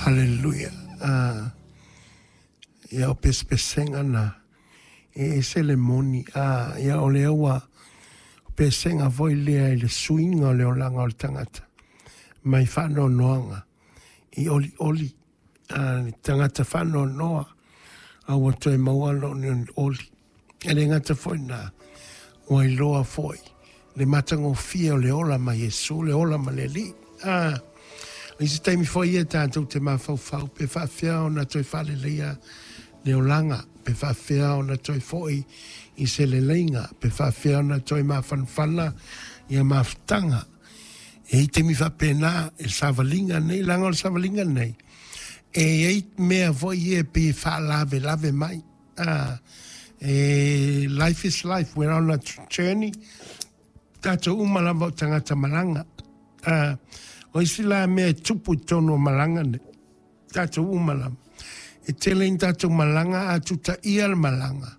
Haleluia. Ia o pesepesega na e ese le moni. Ia o lea ua o pesega foi lea i le suiga o le olaga o le tagata mai faanoanoaga i olioli. Le tagata faanoanoa a ua toe maua lona olioli. E le gata foi na ua iloa foi le matagofie o le ola ma Iesu, le ola ma le Alii. O isi taimi foi ia tatou te mafaufau pe faafefea ona toe faaleleia le olaga, pe faafefea ona toe foi i se leleiga, pe faafefea ona toe mafanafana ia mafutaga. E i ai taimi faapena i le savaliga nei, leaga o le savaliga nei, e i ai mea foi ia e pei e faalavelave mai. Life is life, we're on a journey. Tatou uma lava o tagata malaga. O isi la mea e tupu i totonu o malaga nei, tatou uma lava. E tele ina tatou malaga a tutaia le malaga,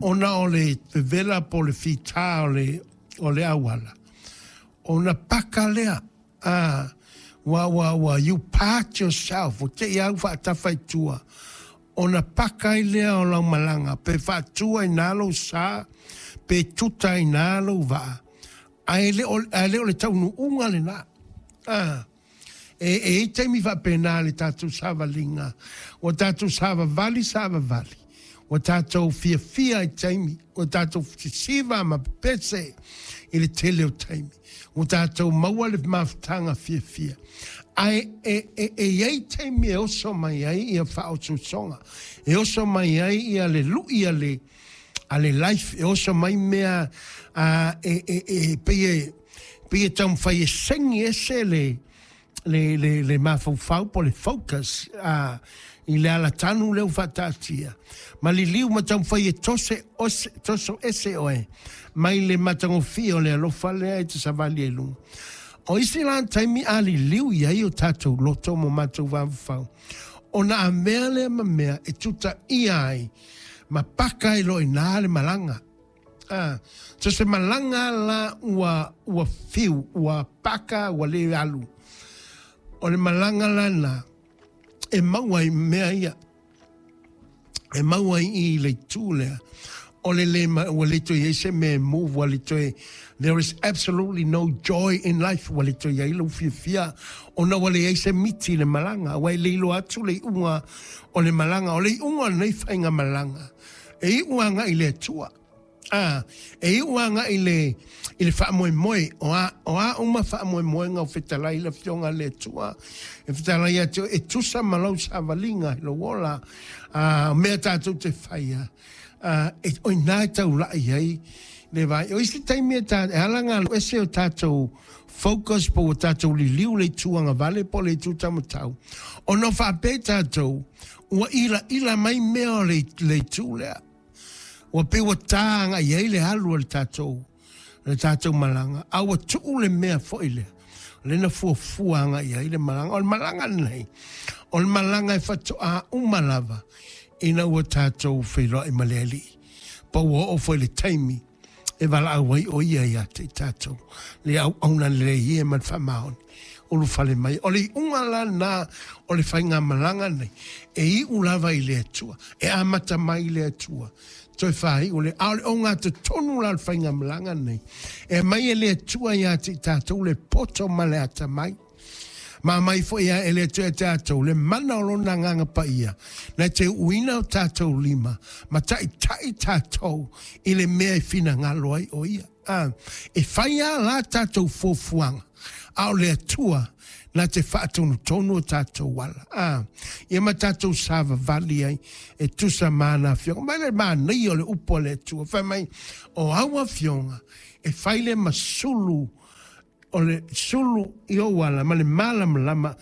ona o le vevela po o le fita o le auala, ona paka lea. Ua, you part yourself, ua te i au faatafa i tua, ona paka ai lea o lau malaga, pe faatua i nā lou sa, pe tuta i nā lou vaa, ae le o le taunuuga lena. E i ai taimi faapena le tatou savaliga, ua tatou savavali savavali, ua tatou fiafia i taimi, ua tatou sisiva ma pepese i le tele o taimi, ua tatou maua le mafutaga fiafia. Ae e i ai taimi e oso mai ai ia faaosoosoga, e oso mai ai ia le lui a le life, e oso mai mea e pei e taumafai e segi ese le mafaufau po le focus i le alatanu lea ua faataatia. Ma liliu ma taumafai e toso ese oe mai le matagofie o le alofa lea e te savali ai luga. O isi la taimi a liliu i ai o tatou loto mo matou vavafau, ona a mea lea ma mea e tutaia ai ma paka ai loa i ina le malaga. So se malaga la ua fiu, ua paka, ua le alu. O le malaga lana e maua i mea ia, e maua i le itu lea, o le le ua le toe i ai se mea e move, ua le toe, there is absolutely no joy in life, ua le toe i ai lou fiafia, ona ua leai se miti i le malaga, ua e le iloa atu le iuga o le malaga, o le iuga o lenei faiga malaga, e iu agai i le Atua. E iu agai i le faamoemoe, o a uma faamoemoega o fetalai le Afioga a le Atua, e fetalai atu e tusa ma lau savaliga i lou ola, o mea tatou te faia, o ina e taulai ai le vai. O isi taimi e ala ngā ese o tatou focus po o tatou liliu le itu agavale po le itu taumatau, ona faapea tatou ua ilaila mai mea o le itu lea. Ua pei ua tā agai ai le alu o le tatou malaga, a ua tuu le mea foi lea, o lena fuafua agai ai le malaga. O le malaga lenei, o le malaga e faatoa uma lava ina ua tatou feiloai ma le Alii. Pa ua oo foi le taimi e valaau ai o ia ia te i tatou, le auauna lelei e ma le faamaoni, ulufale mai. O le iuga la na o le faiga malaga nei, e iu lava i le Atua, e amata mai i le Atua, toe whai o le a o le ogatotonu la o le faiga malaga nei, e mai e le Atua ia te i tatou le poto ma le atamai. Ma mai foi ia e le Atua ia tatou le mana o lona agaga paia, na te uuina o tatou lima, ma taitai tatou i le mea e finagalo ai o ia. E whai a la tatou fuafuaga, a o le Atua na te faatonutonu o tatou ala. Ia ma tatou savavali ai e tusa ma ana afioga. Mai le manaia o le upu a le Atua, fai mai o au afioga e fai le masulu o le sulu i ou ala ma le malamalama.